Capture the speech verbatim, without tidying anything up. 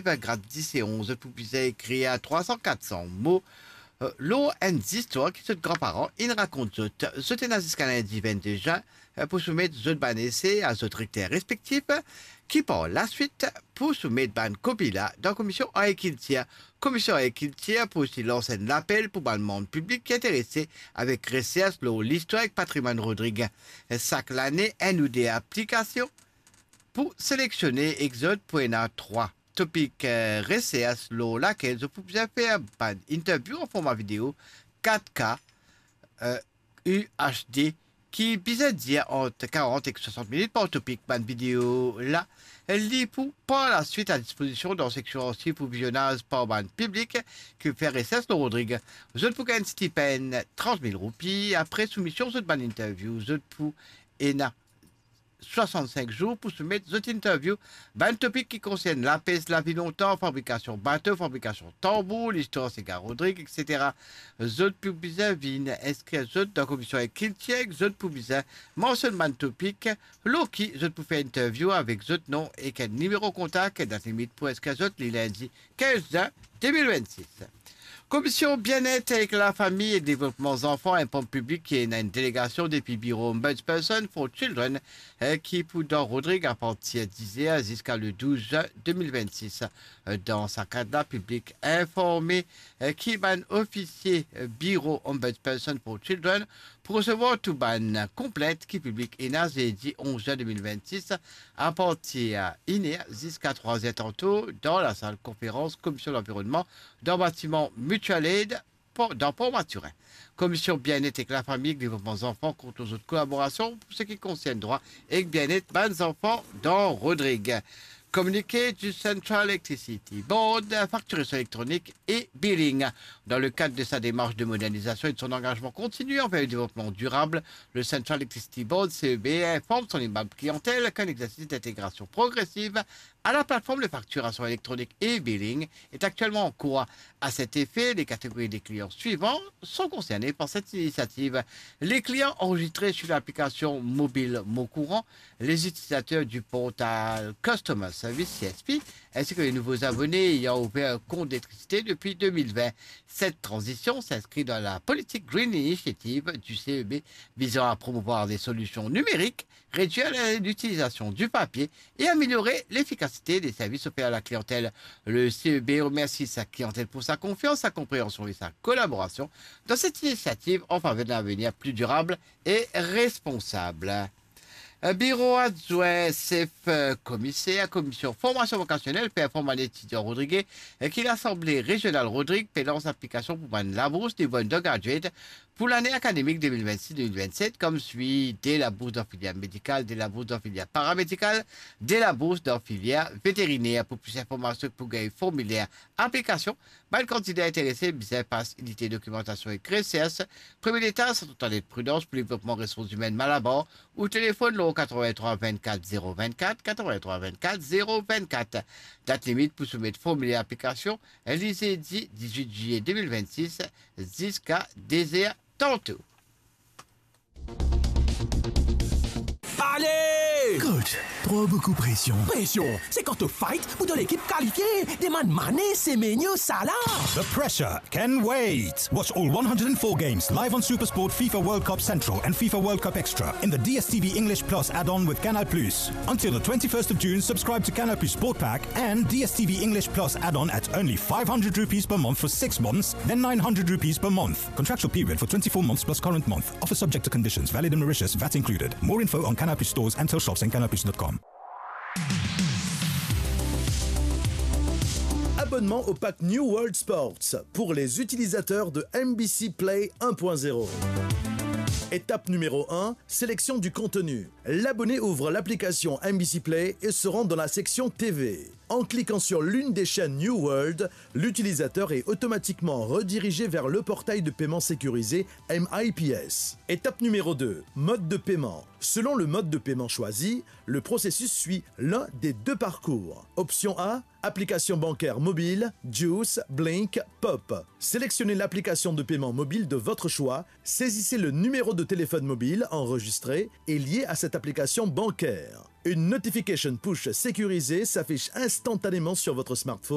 grad dis e onz, zot pou bizin ekrir trwa san, kat san mo, eh, lor enn zistwar ki zot granparan inn rakont zot. Zot ena ziska lindi vennde zin, eh, pou soumet zot bann ese a zot rekter respektif, ki par laswit pou soumet bann kopi la dan Komision Agrikiltir. Komision Agrikiltir pou osi lans enn lapel pou bann manm piblik ki interese avek resers lor listwar ek patrimwann Rodrig. Sak lane, enn ou de aplikasion pou seleksionnen ek zot pou ena trwa topik, eh, resers lor lakel zot pou bizin fer bann interview an forma video kat K, eh, U H D, ki bizin dir ant karant ek swasant minit par topik. Bann video la, li pou par laswit a dispozision dan seksion arsiv pou vizionaz par bann piblik ki fer resers lor Rodrig. Zot pou gagn tipenn trant mil roupi apre soumision zot bann interview. Zot pou ena swasannsink zour pou soumet zot interview. Bann topik ki konsern lapes, lavi lontan, fabrikasion bato, fabrikasion tanbour, listwar siga Rodrig, et cetera. Zot pou bizin vinn inskrir zot dan Komision Agrikiltir, ek zot pou bizin mansionn bann topik lor ki zot pou fer interview avek zot nom ek enn nimero kontak. Dat limit pou inskrir zot, li lindi kinz zin de mil vennsis. Komision Bienet ek Lafami e Devlopman Zanfan, enn ponp piblik ki ena enn delegasion depi Biro Ombudsperson for Children, eh, ki pou dan Rodrig apartir diz er ziska le douz zin de mil vennsis. Eh, dan sa kad la, piblik informe, eh, ki bann ofisie, eh, Biro Ombudsperson for Children pou resevwar tou bann konplint ki piblik ena zedi onz zin de mil vennsis, apartir inn er ziska trwa zin tanto, dan lasal konferans Komision Lanvironnman, dan batiman Mutual Aid, Port, dan Port Mathurin. Komision Bienet ek Lafami ek Devlopman Zanfan kont lor zot kolaborasion pou seki konsern drwa ek bienet bann zanfan dan Rodrig. Communiqué du Central Electricity Board, facturation électronique et billing. Dans le cadre de sa démarche de modernisation et de son engagement continu envers le développement durable, le Central Electricity Board, C E B, informe son aimable clientèle qu'un exercice d'intégration progressive à la plateforme de facturation électronique e-billing est actuellement en cours. À cet effet, les catégories des clients suivants sont concernées par cette initiative. Les clients enregistrés sur l'application mobile Mon Courant, les utilisateurs du portail Customer Service, C S P, ainsi que les nouveaux abonnés ayant ouvert un compte d'électricité depuis deux mille vingt. Cette transition s'inscrit dans la politique Green Initiative du C E B visant à promouvoir des solutions numériques, réduire la, l'utilisation du papier et améliorer l'efficacité des services offerts à la clientèle. Le C E B remercie sa clientèle pour sa confiance, sa compréhension et sa collaboration dans cette initiative en faveur d'un avenir plus durable et responsable. Biro adwin sef, eh, komiser Komision Formasion Vokasionel pe inform bann etidian rodrige, eh, ki Lasanble Rezional Rodrig pe lans aplikasion pou bann labours nivo undergraduate pou lane akademik de mil vennsis de mil vennset, koumsi de labours dan filier medikal, de labours dan filier paramedikal, de labours dan filier veteriner. Pou plis informasion, pou gagn formiler aplikasion, bann kandida interese bizin pas inite dokimantasion ek resers, premie letaz, Sant Antoinette Prudence pou Devlopman Ressours Imenn Malabar, ou telefonn lor katrevin-trwa vinn-kat zero vinn-kat, katrevin-trwa vinn-kat zero vinn-kat. Dat limit pou soumet formiler aplikasion, li zedi diz-wit zilye de mil vennsis, ziska de zer tanto. Ale! Coach, trop beaucoup pression. Pression, c'est quand to fight pour ton équipe qualifiée. Demann Mané, Semenyo, Salah. The pressure can wait. Watch all one hundred and four games live on SuperSport, FIFA World Cup Central, and FIFA World Cup Extra in the D S T V English Plus add-on with Canal Plus. Until the twenty-first of June, subscribe to Canal Plus Sport Pack and D S T V English Plus add-on at only five hundred rupees per month for six months, then nine hundred rupees per month. Contractual period for twenty-four months plus current month. Offer subject to conditions, valid in Mauritius, VAT included. More info on Canal Plus stores and till shops and canal plus dot com. Abonnement au pack New World Sports pour les utilisateurs de M B C Play un point zéro. Étape numéro un, sélection du contenu. L'abonné ouvre l'application M B C Play et se rend dans la section T V. En cliquant sur l'une des chaînes New World, l'utilisateur est automatiquement redirigé vers le portail de paiement sécurisé M I P S. Étape numéro deux, mode de paiement. Selon le mode de paiement choisi, le processus suit l'un des deux parcours. Option A, application bancaire mobile, Juice, Blink, Pop. Sélectionnez l'application de paiement mobile de votre choix, saisissez le numéro de téléphone mobile enregistré et lié à cette application bancaire. Une notification push sécurisée s'affiche instantanément sur votre smartphone.